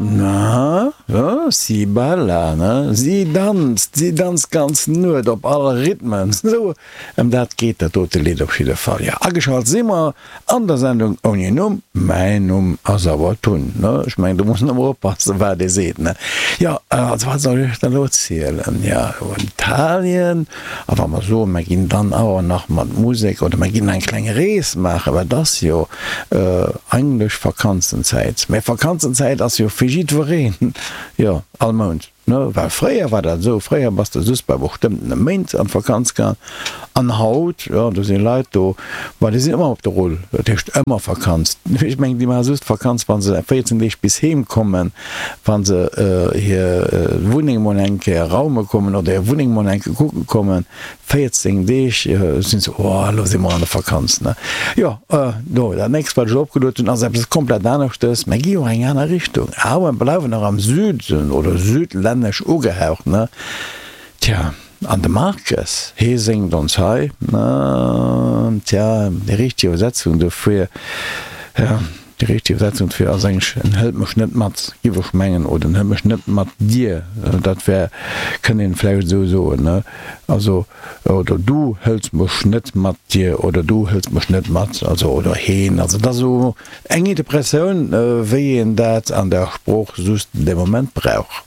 Na, si balla, ne? Si danzt, si danzt d'ganz Nuet op all Rhythmen. Sou, ëm dat geet dat dote Lidd op jidde Fall. Jo, ageschalt si mer an der Sendung ouni Numm. Mäin Numm ass awer Tun, ne? Ech mengen, do muss een ëmmer oppassen, wat ee seet, ne? Jo, also wat soll ech iech dann elo zielen? Jo, Italien. A wa mer soen, mer ginn dann awer nach mat Musek oder mer ginn eng kleng Rees maachen, well et ass jo eigentlech Vakanzenzäit. Mä Vakanzenzäit ass jo fir jiddwereen, jo, all Mount, ne? Well fréier war dat esou, fréier bass de just bei bestëmmtene Méint an d'Vakanz gaang. An haut, jo, do si Leit do, ma déi sinn ëmmer op der Rull, dat heescht ëmmer Vakanz. Ech mengen, déi maache just Vakanz, wa se 14 Deeg bis heem kommen. Wa se hir Wunneng mol eng Kéier raume kommen oder hir Wunneng mol eng Kéier kucke kommen, 14 Deeg, sinn se, oh, elo si mer an der Vakanz, ne? Jo, do, dat nächst, wat ech elo opgeluet hunn, ass eppes komplett aneschtes. Mer gi jo eng aner Richtung, awer bleiwen nach am Süden oder südlännesch ugehaucht, ne? Tja, an de Marques, hee séngt ons hei, tja, déi richteg Iwwersetzung dofir, ja. Déi richteg Iwwersetzung dofir ass eigentlech en hëlt mech net mat, giff ech mengen, oder en hëlt mech net mat dir, dat wär, kënnt een vläicht esou soen, ne? Also, oder du hëls mech net mat dir oder du hëls mech net mat, also, oder heen. Also, et ass esou eng Interpretioun, wéi een dat an der Sprooch just dee Moment brauch.